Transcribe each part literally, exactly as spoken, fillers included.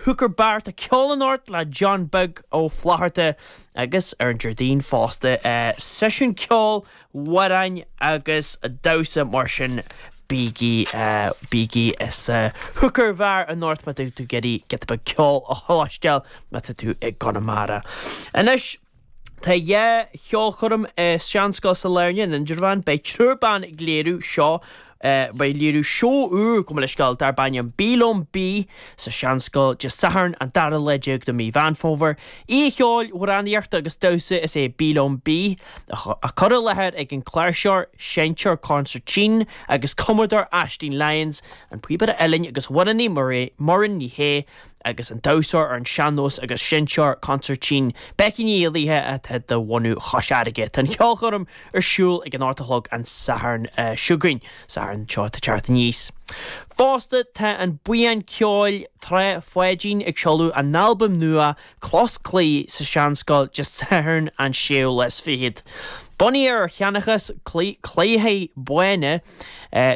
Hooker Bar tá ceol anocht le John Beag Ó Flatharta agus ar an Déardaoin fosta seisiún ceoil, amhráin agus damhsa mar sin bígí bígí sa Hooker Bar anocht má tá tú ag iarraidh giota beag ceol a chloisteáil má tá tú i gConamara. Anois Tá dhá cheolchoirm i Seanscoil Sailearna in Indreabhán, beidh triúr ban ag léiriú seo beidh léiriú seó úr go leis scoil darb ainm Bí Liom Bí sa Seanscoil Dé Sathairn an dara lá déag de mí Mheán Fómhair. Oíche cheoil, amhránaíochta agus damhsa is ea Bí Liom Bí, á cur i láthair ag an cláirseoir, seinnteoir consairtín agus cumadóir Aisling Lyons, an píobaire uilleann agus amhránaí Muireann Ní Shé agus an damhsóir ar an sean-nós agus seinnteoir consairtín Becky Ní Éallaithe atá de bhunadh Chois Fharraige. Tá an cheolchoirm ar siúl ag an ocht a chlog an Satharn seo chugainn, Satharn seo atá ag teacht aníos. Fosta tá an buíon ceoil Trá Pháidín ag seoladh a n-albam nua Clos Claí sa Seanscoil Dé Sathairn an séú lá is fichead. Bunaithe ar sheanchas claíche bána,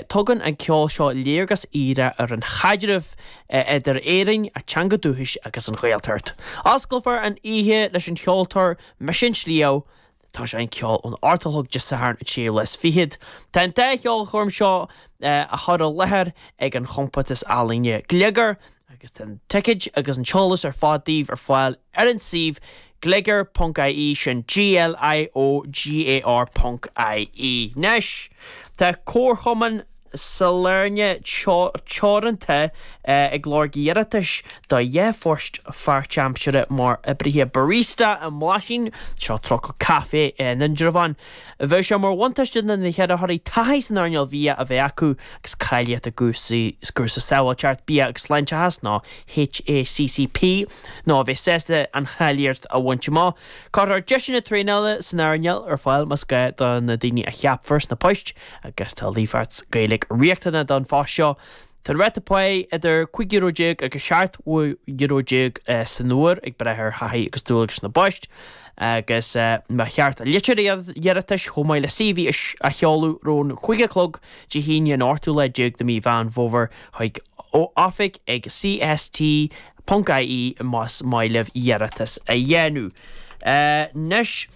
tugann an ceol seo léargas aoibhinn ar an chaidreamh idir Éirinn, a teanga dúchais agus an Ghaeltacht. Osclófar an oíche leis an cheoltóir Mise an Sliabh, Tá sé an ceol ón ocht a chlog Dé Sathairn an séú lá is fichead. Tá an dá cheolchoirm seo á chur i láthair ag an chompántas ealaíne Gliogar agus tá an ticéid agus an t-eolas ar fad daoibh ar fáil ar an suíomh gliogar.ie sin GLIOGAR ponc IE. Anois, tá Comharchumann Sailearna Teoranta ag lorg iarratais do dhá phost pháirtaimseartha mar oibrithe barista i mBlaisín, seo Trucail Caife in Indreabhán. Bheadh sé mar bhuntáiste do na hiarrthóirí taithí san earnáil bhia a bheith acu agus cáilíocht i gcúrsaí cúrsa sábháilteacht bia agus sláinteachas nó HACCP nó a bheith sásta an cháilíocht a bhaint amach. Cuirfear deiseanna traenála san earnáil ar fáil más gá do na daoine a cheapfar sna poist agus tá líofacht Gaeilge riachtanach don phost seo. Tá an ráta páí idir cúig euro déag agus seacht euro déag san uair ag brath ar thaithí agus dualgais na bpoist agus ba cheart litir iarratais chomh maith le CV a sheoladh roimh an cúig a chlog Dé hAoine an ochtú lá déag de mí Mheán Fómhair chuig oifig ag cst ponc ie más maith libh iarratas a dhéanamh. Anois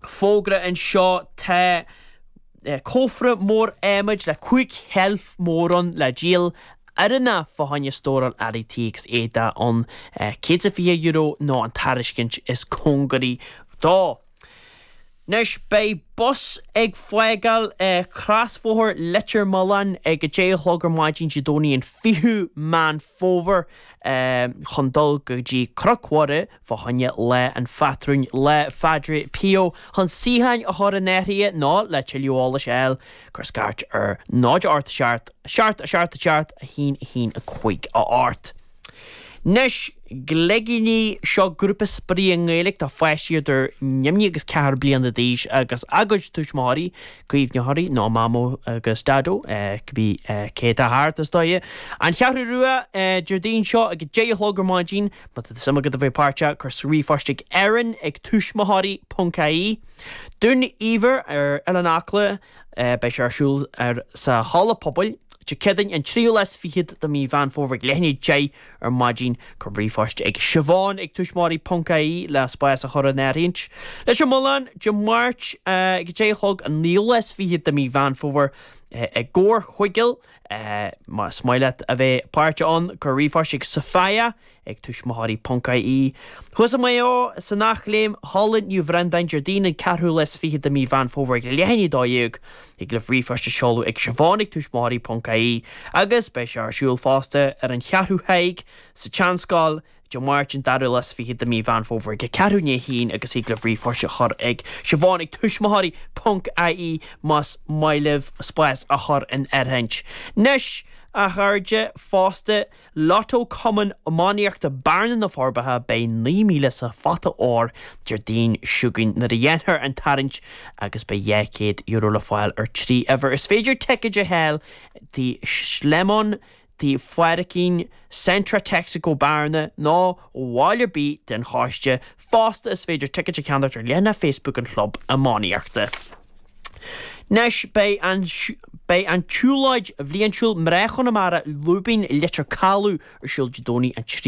fógra anseo tá cófra mór adhmaid le cúig sheilf mór ann le díol oiriúnach fá choinne stóráil earraí tí agus éadaí ann céad is fiche euro nó an tairiscint is cóngaraí dó. Anois beidh bus ag fágáil crosbhóthar Leitir Mealláin ag a deich a chlog ar maidin Dé Domhnaigh an fichiú Meán Fómhair chun dul go dtí Cnoc Mhuire fá choinne Lá an Phátrúin, Lá Phádraig Pio, chun suíocháin a chur in áirithe nó le tuilleadh eolais a fháil, cuir scairt ar náid ocht seacht, seacht a seacht a seacht, a haon a haon a cúig a ocht. Anois, Gleigíní, seo grúpa spraoi i nGaeilge do pháistí idir neamhní agus ceathair bliana d'aois agus a gcuid tuismitheoirí, caomhnaitheoirí nó Mamó agus Daideo, cibé cé atá thart, is dóigh. An Cheathrú Rua, Déardaoin seo ag a deich a chlog ar maidin. Má tá suim agat a bheith páirteach, cuir ríomhphost ag Erin ag tuismitheoirí ponc ie. Dún Eibhir ar Oileán Acla, beidh sé ar siúl ar sa Halla Pobail. Dé Céadaoin an tríú lá is fichead de mí Mheán Fómhair ag leath i ndiaidh a deich ar maidin. Cuir ríomhphost ag Siobhán ag tuismitheoirí ponc ie le spás a chur in áirithint. Leitir Mealláin, Dé Máirt ag a deich a chlog an naoú lá is fichead de mí Mheán Fómhair i gComhar Chuigéil. Más maith leat a bheith páirteach ann, cuir ríomhphost ag Sophia ag tuismitheoirí ponc ie. Thuas i Maigh Eo, san Eachléim, Halla Naomh Bhreandáin Déardaoin an ceathrú lá is fiche de mí Mheán Fómhair ag leath i ndiaidh a dó dhéag. Thig libh ríomhphost a seoladh ag Siobhán ag tuismitheoirí ponc ie agus beidh sé ar siúl fosta ar an Cheathrú Thaidhg sa tSeanscoil Dé Máirt an dara lá is fiche de mí Mheán Fómhair ag a ceathrú i ndiaidh a haon agus thig libh ríomhphost a chur ag Siobhán ag tuismitheoirí ponc ie más maith libh spás a chur in áirithint. Anois, a chairde, fosta, Lotto Cumann Iománaíochta Bearna na Forbacha beidh naoi míle sa phota óir Déardaoin seo chugainn nuair a dhéanfar an tarraingt agus beidh dhá chéad euro le fáil ar trí uimhir. Is féidir ticéid a fháil Tigh Shlemon, Tigh Phádraicín, Centra Texaco Bearna nó ó bhall ar bith den choiste. Fosta is féidir ticéid a cheannacht ar leathanach Facebook an chlub iománaíochta. Anois beidh an beidh an tsiúlóid bhliantúil Mná Chonamara Lúibín Leitir Caladh ar siúl Dé Domhnaigh an tríú